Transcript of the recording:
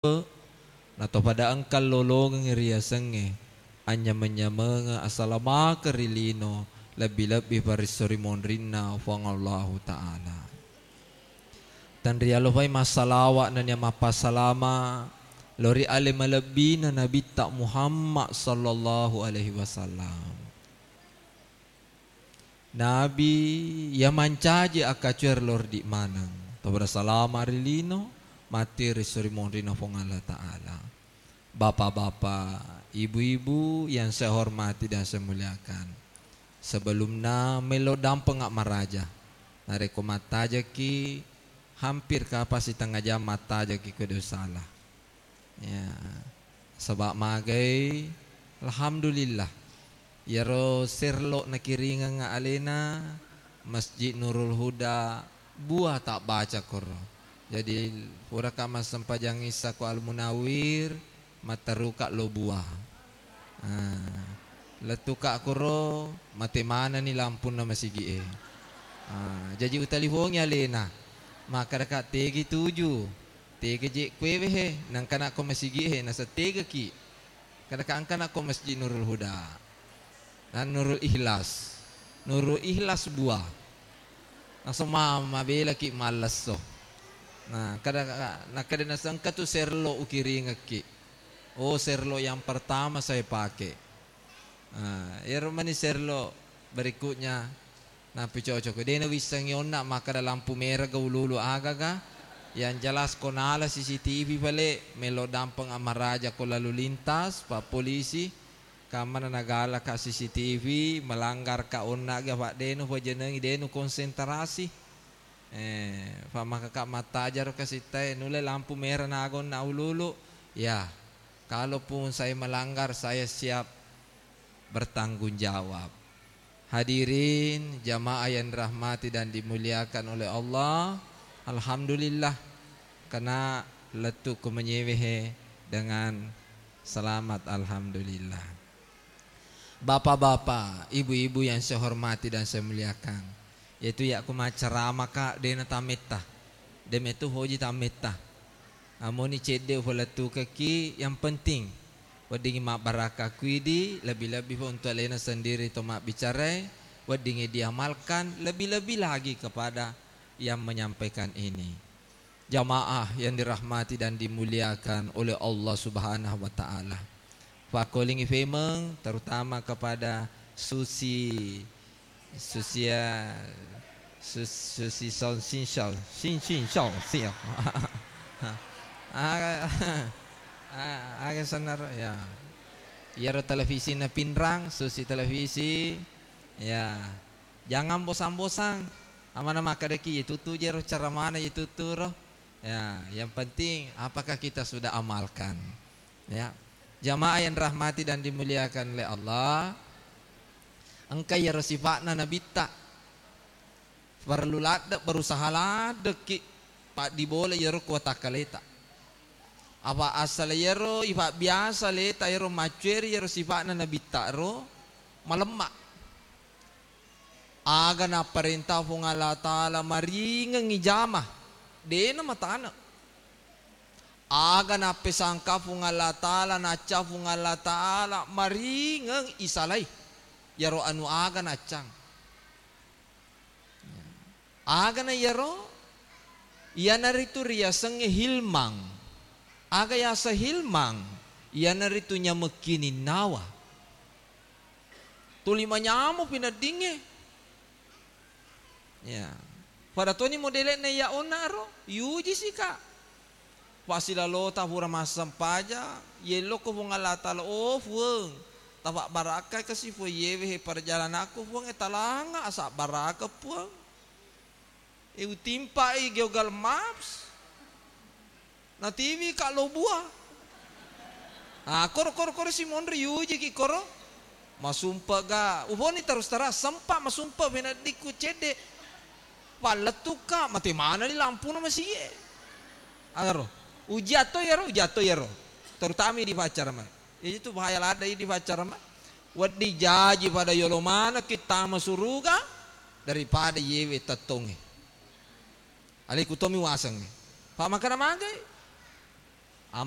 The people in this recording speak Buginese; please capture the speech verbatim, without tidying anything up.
Nato pada engka lolongeng riasengnge anyameng-nyamengeng asalamakeng ri lino, lebbi-lebbi paresso ri monrinna Puang Allahu Ta'ala. Tenrialofai massalawa nennia mappasalama lao ri ale malebbina Nabitta Muhammad sallallahu alaihi wasallam. Nabi iya mancaji akkacuer lordi maneng, to berasalama ri lino, matti ri suri monrina Puang Allah Ta'ala. Bapak-bapak, ibu-ibu yang saya hormati dan saya muliakan, sebelumna melo dampeng maraja, narekko mattajaki, hampir kapa sitengnga jam mattajaki kedo salah. Ya, saba magai, alhamdulillah. Iyaro serlo nakiringeng alena Masjid Nurul Huda, buah tabbaca koro. Jadi, puraka massempajang Isya ko Al Munawir, matteruka lo buah. Ah, lettuka koro, mate manani lampunna masigi e. Ah, jaji utalifongi alena, makkedaka tegi tuju. Tega je kuewe he, nangkana ko masigi he, nasettegaki. Kada ka angkana ko Masjid Nurul Huda. Nah, Nurul Ikhlas. Nurul Ikhlas buah. Langsung ma-, mabelaki mallesso. Nah, kada, nakkeda nasengka tu serlo ukiringekki. Oh, serlo yang pertama saya pakai. Ah, iyaro mani serlo berikutnya nappi cocok. De' nawissengngi onna makkeda lampu merah ga ulu-ulu agaga. Yang jelas ko nala C C T V pale, melo dampeng amaraja ko lalu lintas, pa polisi. Kammana nagalaka C C T V, melanggar ka onna ga, Pak, de' nu pajenengi, de' nu konsentrasi. Eh, fa makkaka mattajaro kasittae, nulle lampu merah naga onna ulu-ulu. Ya, kalaupun saya melanggar, saya siap bertanggung jawab. Hadirin jamaah yang dirahmati dan dimuliakan oleh Allah, alhamdulillah, kena lettu ko menyewehe dengan selamat, alhamdulillah. Bapak-bapak, ibu-ibu yang saya hormati dan saya muliakan, yaitu yakku maccarama ka, de' na tametta, de' metu hoji tametta. Amoni cedde ufalettukekki, yang penting weddingngi mabbarakka kuidi, lebbi-lebbi fa untuk alena sendiri to mabbicarai, weddingngi diamalkan, lebbi-lebbi lagi kepada yang menyampaikan ini. Jamaah yang dirahmati dan dimuliakan oleh Allah Subhanahu wa Ta'ala. Fakkolingi femeng, terutama kepada Susi, Susia, Sus-, Susi Son Sin Shao, Sin Sin Shao, Sin. Aga, a-, aga senar, ya. Iyaro televisi na Pinrang, Susi Televisi, ya. Jangan bosang-bosang. Amana makkadaki, iya tutu jero cara mana iya tutu ro. Ya, yang penting apakah kita sudah amalkan. Ya. Jamaah yang dirahmati dan dimuliakan oleh Allah, engka iyaro sifa'na nabitta. Perlu ladde, berusaha laddeki paddibola iyaro kuatakkaleta. Apa asal iyaro ifabbiasa leta iyaro maccueri iyaro sifa'na nabitta ro malemma. Aga napparenta Puang Allah Ta'ala maringeng ijama, de'na matane. Aga nappesangka Puang Allah Ta'ala, nacca Puang Allah Ta'ala maringeng isalai. Iyaro anu aga naccang. Agana iyaro? Iyanaritu riasengnge hilmang. Aga yaseng hilmang? Iyanaritu nyamekkininnawa. Tuli manyameng pineddingnge. Ya. Pada toni modele'na iya onna ro, yujisika. Pasilalota pura massempajang, yellokko Puang Allah Ta'ala, oh Puang, tapabbarakkai kasi Puang, yewe he perjalananku Puang, e talanga asabbarakeng Puang. E utimpai Google Maps. Natiwika lo buah. Ah, koro, koro, koro si monri yujiki koro. Masumpe ga. Uboni terus terang, sempa masumpe peneddikku cedde. Pallettukka, mate manani lampuna masigie. Agaro. Ujiatto yaro, ujiatto yaro. Terutama di pacarma. Itu bahaya ladde di pacarma. Wedding jaji pada yolo manekki tama suruga daripada yewe tettongnge. Aleku tommi wasengnge. Fa makkeda magai. Amma